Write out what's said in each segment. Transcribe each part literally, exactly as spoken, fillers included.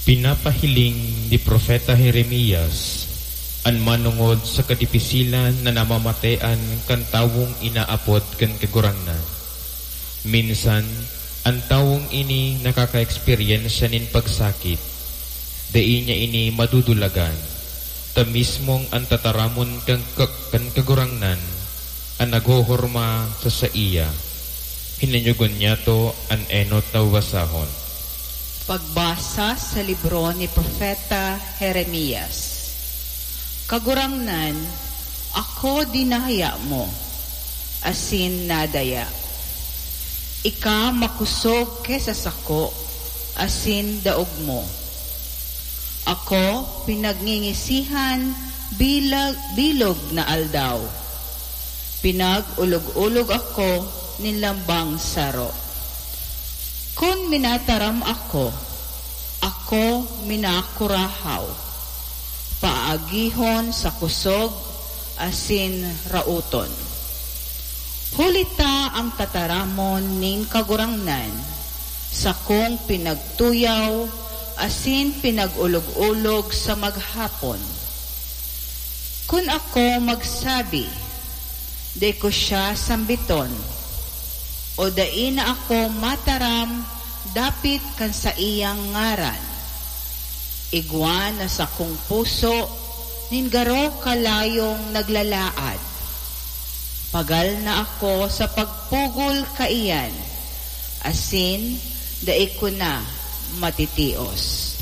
Pinapahiling ni Propeta Jeremias an manongod sa kadipisilan na namamatean kan tawong inaapod kan Kagurangnan. Minsan, an tawong ini nakakaeksperyensya nin pagsakit. Dai niya ini madudulagan, ta mismong an tataramon kan, kan Kagurangnan an naghohorma sa saiya. Hinanyogon niyato an enot na babasahon. Pagbasa sa libro ni Propeta Jeremias. Kagurangnan, ako dinaya mo, asin nadaya. Ika makosog ki sa sako, asin daog mo. Ako pinagngingisihan bilag, bilog na aldaw. Pinag-olog-olog ako nin lambang saro. Kun minataram ako, ako minakurahaw. Paagihon sa kosog asin raoton. Huli ta ang tataramon nin Kagurangnan, sakong pinagtuyaw asin pinag-olog-olog sa maghapon. Kun ako magsabi, "Dai ko siya sambiton," o "Dai na ako mataram dapit kan saiyang ngaran," igwa na sakong puso nin garo kalayong naglalaad. Pagal na ako sa pagpugol kaiyan, asin dai ko na matitios.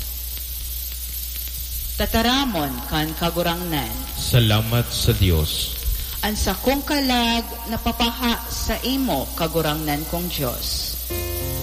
Tataramon kan Kagurangnan. Salamat sa Dios. An sakong kalag napapaha saimo, Kagurangnan kong Dios.